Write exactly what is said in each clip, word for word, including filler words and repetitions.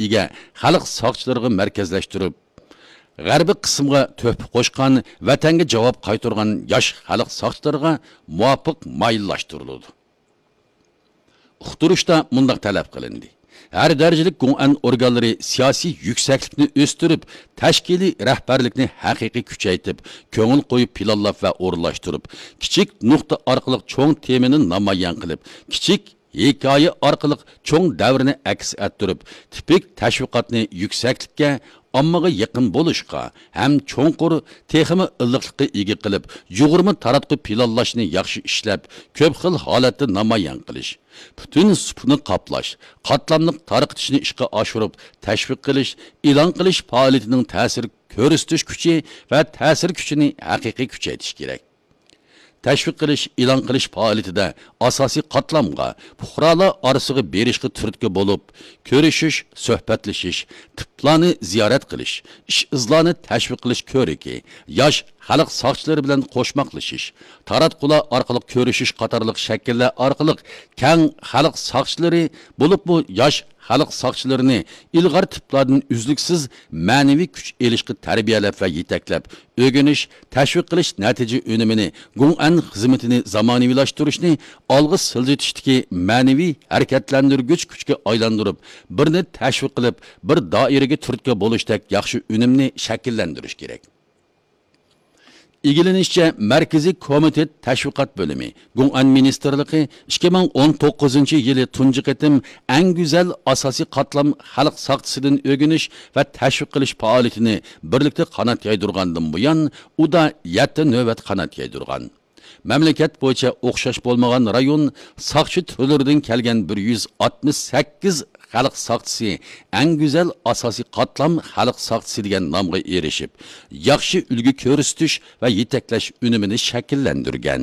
ئىگە خەلق ساقچىلىرىغا مەركەزلەشتۈرۈپ، غەربىي قىسىمغا تۆھپە قوشقان، ۋەتەنگە جاۋاب قايتۇرغان ياش خەلق ساقچىلىرىغا مۇۋاپىق مايىللاشتۇرۇلىدۇ. ئۇقتۇرۇشتا مۇنداق تەلەپ قىلىندى: ھەر دەرىجىلىك گوڭئەن ئورگانلىرى سىياسىي يۈكسەكلىكنى ئۆستۈرۈپ، تەشكىلىي رەھبەرلىكنى ھەقىقىي كۈچەيتىپ، كۆڭۈل قويۇپ پىلانلاپ ۋە ئورۇنلاشتۇرۇپ، كىچىك نۇقتا ئارقىلىق چوڭ تېمىنى نامايان قىلىپ، كىچىك ھېكايە ئارقىلىق چوڭ دەۋرنى ئەكس ئەتتۈرۈپ، تىپىك تەشۋىقاتنى يۈكسەكلىككە، ئاممىغا يېقىن بولۇشقا ھەم چوڭقۇر، تېخىمۇ ئىللىقلىققا ئىگە قىلىپ، يۇغۇرما تاراتقۇ پىلانلاشنى ياخشى ئىشلەپ، كۆپ خىل ھالەتتە نامايان قىلىش، پۈتۈن سۇپىنى قاپلاش، قاتلاملىق تارقىتىشنى ئىشقا ئاشۇرۇپ، تەشۋىق قىلىش، ئېلان قىلىش پائالىيىتىنىڭ تەسىر كۆرسىتىش كۈچى ۋە تەسىر كۈچىنى ھەقىقىي كۈچەيتىش كېرەك. تەشۋىق قىلىش، ئېلان قىلىش پائالىيىتىدە ئاساسىي قاتلامغا، پۇقرالار ئارىسىغا بېرىشقا تۈرتكە بولۇپ، كۆرۈشۈش، سۆھبەتلىشىش، تىپلارنى زىيارەت قىلىش، ئىش-ئىزلارنى تەشۋىق قىلىش كۆرىكى، ياش خەلق ساقچىلىرى بىلەن قوشماقلىشىش، تاراتقۇلار ئارقىلىق كۆرۈشۈش قاتارلىق شەكىللەر ئارقىلىق كەڭ خەلق ساقچىلىرى، بولۇپمۇ ياش خەلق ساقچىلىرىنى ئىلغار تىپلاردىن ئۈزلۈكسىز مەنىۋى كۈچ ئېلىشقا تەربىيەلەپ ۋە يېتەكلەپ، ئۆگىنىش، تەشۋىق قىلىش نەتىجە ئۈنۈمىنى، گوڭئەن خىزمىتىنى زامانىۋىلاشتۇرۇشنى ئالغا سىلجىتىشتىكى مەنىۋى ھەرىكەتلەندۈرگۈچ كۈچكە ئايلاندۇرۇپ، بىرنى تەشۋىق قىلىپ، بىر دائىرىگە تۈرتكە بولۇشتەك ياخشى ئۈنۈمنى شەكىللەندۈرۈش كېرەك. ئىگىلىنىشىچە، مەركىزىي كومىتېت تەشۋىقات بۆلۈمى، گوڭئەن مىنىستىرلىقى ئىككى مىڭ ئون توققۇزىنچى يىلى تۇنجى قېتىم ئەڭ گۈزەل ئاساسىي قاتلام خەلق ساقچىسىدىن ئۆگىنىش ۋە تەشۋىق قىلىش پائالىيىتىنى بىرلىكتە قانات يايدۇرغاندىن بۇيان، ئۇدا يەتتە نۆۋەت قانات يايدۇرغان. مەملىكەت بويىچە ئوخشاش بولمىغان رايون ساقچى تۈرلىرىدىن كەلگەن بىر يۈز ئاتمىش سەككىز خەلق ساقچىسى ئەڭ گۈزەل ئاساسىي قاتلام خەلق ساقچىسى دېگەن نامغا ئېرىشىپ، ياخشى ئۈلگە كۆرسىتىش ۋە يېتەكلەش ئۈنۈمىنى شەكىللەندۈرگەن.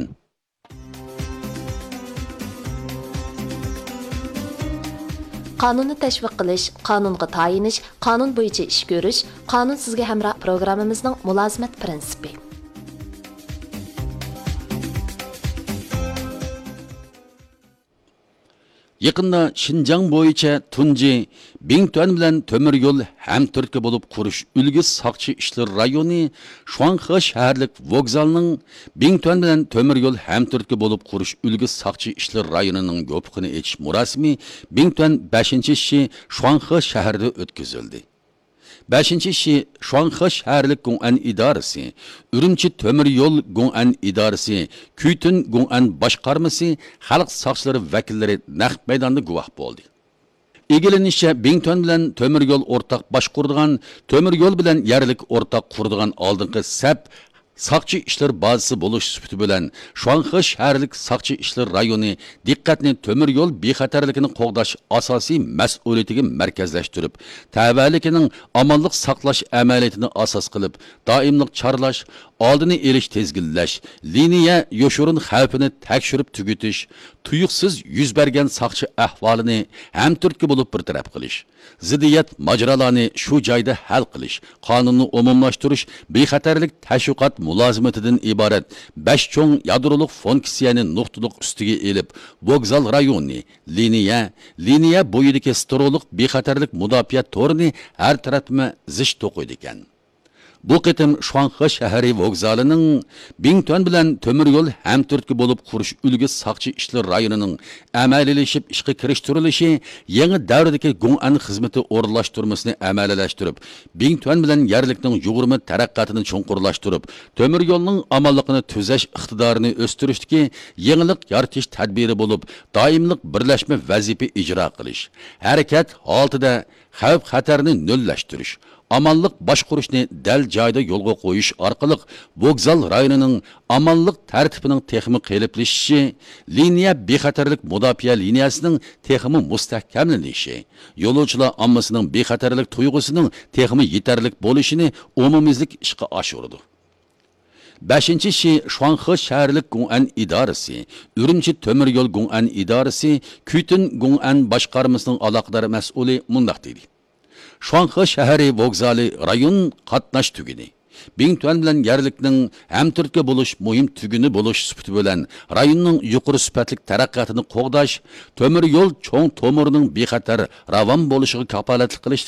قانۇننى تەشۋىق قىلىش، قانۇنغا تايىنىش، قانۇن بويىچە ئىش كۆرۈش، قانۇن سىزگە ھەمراھ پروگراممىمىزنىڭ مۇلازىمەت پىرىنسىپى. يېقىندا شىنجاڭ بويىچە تۇنجى بىڭتۈەن بىلەن تۆمۈر يول ھەمتۈرتكە بولۇپ قۇرۇش ئۈلگە ساقچى ئىشلىرى رايونى شۇاڭخې شەھەرلىك ۋوگزالنىڭ بىڭتۈەن بىلەن تۆمۈر يول ھەمتۈرتكە بولۇپ قۇرۇش ئۈلگە ساقچى ئىشلىرى رايونىنىڭ يوپۇقىنى ئېچىش مۇراسىمى بىڭتۈەن بەشىنچى شى شۇاڭخې شەھىرىدە ئۆتكۈزۈلدى. بەشىنچى شى شۇاڭخې شەھەرلىك گوڭئەن ئىدارىسى، ئۈرۈمچى تۆمۈر يول گوڭئەن ئىدارىسى، كۈيتۈن گوڭئەن باشقارمىسى، خەلق ساقچىلىرى ۋەكىللىرى نەق مەيداندا گۇۋاھ بولدى. ئىگىلىنىشىچە، بىڭتۈەن بىلەن تۆمۈر يول ئورتاق باشقۇرىدىغان، تۆمۈر يول بىلەن يەرلىك ئورتاق قۇرىدىغان ئالدىنقى سەپ ساقچى ئىشلىرى بازىسى بولۇش سۈپىتى بىلەن، شۇاڭخې شەھەرلىك ساقچى ئىشلىرى رايونى دىققەتنى تۆمۈر يول بىخەتەرلىكىنى قوغداش ئاساسىي مەسئۇلىيىتىگە مەركەزلەشتۈرۈپ، تەۋەلىكىنىڭ ئامانلىق ساقلاش ئەمەلىيىتىنى ئاساس قىلىپ، دائىملىق چارلاش، ئالدىنى ئېلىش، تىزگىنلەش، لىنىيە يوشۇرۇن خەۋپىنى تەكشۈرۈپ تۈگىتىش، تۇيۇقسىز يۈز بەرگەن ساقچى ئەھۋالىنى ھەمتۈرتكە بولۇپ بىر تەرەپ قىلىش، زىددىيەت ماجىرالارنى شۇ جايدا ھەل قىلىش، قانۇننى ئومۇملاشتۇرۇش، بىخەتەرلىك تەشۋىقات مۇلازىمىتىدىن ئىبارەت بەش چوڭ يادرولۇق فۇنكسىيەنى نۇقتىلىق ئۈستىگە ئېلىپ، ۋوگزال رايونى، لىنىيە، لىنىيە بويىدىكى سترولۇق بىخەتەرلىك مۇداپىئە تورىنى ھەر تەرەپلىمە زىچ توقۇيدىكەن. بۇ قېتىم شۇاڭخې شەھىرى ۋوگزالىنىڭ بىڭتۈەن بىلەن تۆمۈر يول ھەمتۈرتكە بولۇپ قۇرۇش ئۈلگە ساقچى ئىشلىرى رايونىنىڭ ئەمەلىيلىشىپ ئىشقا كىرىشتۈرۈلۈشى يېڭى دەۋردىكى گوڭئەن خىزمىتى ئورۇنلاشتۇرمىسىنى ئەمەلىيلەشتۈرۈپ، بىڭتۈەن بىلەن يەرلىكنىڭ يۇغۇرما تەرەققىياتىنى چوڭقۇرلاشتۇرۇپ، تۆمۈر يولنىڭ ئامانلىقىنى تۈزەش ئىقتىدارىنى ئۆستۈرۈشتىكى يېڭىلىق يارىتىش تەدبىرى بولۇپ، دائىملىق بىرلەشمە ۋەزىپە ئىجرا قىلىش، ھەرىكەت ھالىتىدە خەۋپ-خەتەرنى نۆللەشتۈرۈش، ئامانلىق باشقۇرۇشنى دەل جايىدا يولغا قويۇش ئارقىلىق ۋوگزال رايونىنىڭ ئامانلىق تەرتىپىنىڭ تېخىمۇ قېلىپلىشىشى، لىنىيە بىخەتەرلىك مۇداپىئە لىنىيەسىنىڭ تېخىمۇ مۇستەھكەملىنىشى، يولۇچىلار ئاممىسىنىڭ بىخەتەرلىك تۇيغۇسىنىڭ تېخىمۇ يېتەرلىك بولۇشىنى ئومۇميۈزلۈك ئىشقا ئاشۇرىدۇ. بەشىنچى شى شۇاڭخې شەھەرلىك گوڭئەن ئىدارىسى، ئۈرۈمچى تۆمۈر يول گوڭئەن ئىدارىسى، كۈيتۈن گوڭئەن باشقارمىسىنىڭ ئالاقىدار مەسئۇلى مۇنداق دېدى: شۇاڭخې شەھىرى ۋوگزالى رايون قاتناش تۈگۈنى، بىڭتۈەن بىلەن يەرلىكنىڭ ھەمتۈرتكە بولۇش مۇھىم تۈگۈنى بولۇش سۈپىتى بىلەن، رايوننىڭ يۇقىرى سۈپەتلىك تەرەققىياتىنى قوغداش، تۆمۈر يول چوڭ تومۇرىنىڭ بىخەتەر، راۋان بولۇشىغا كاپالەتلىك قىلىش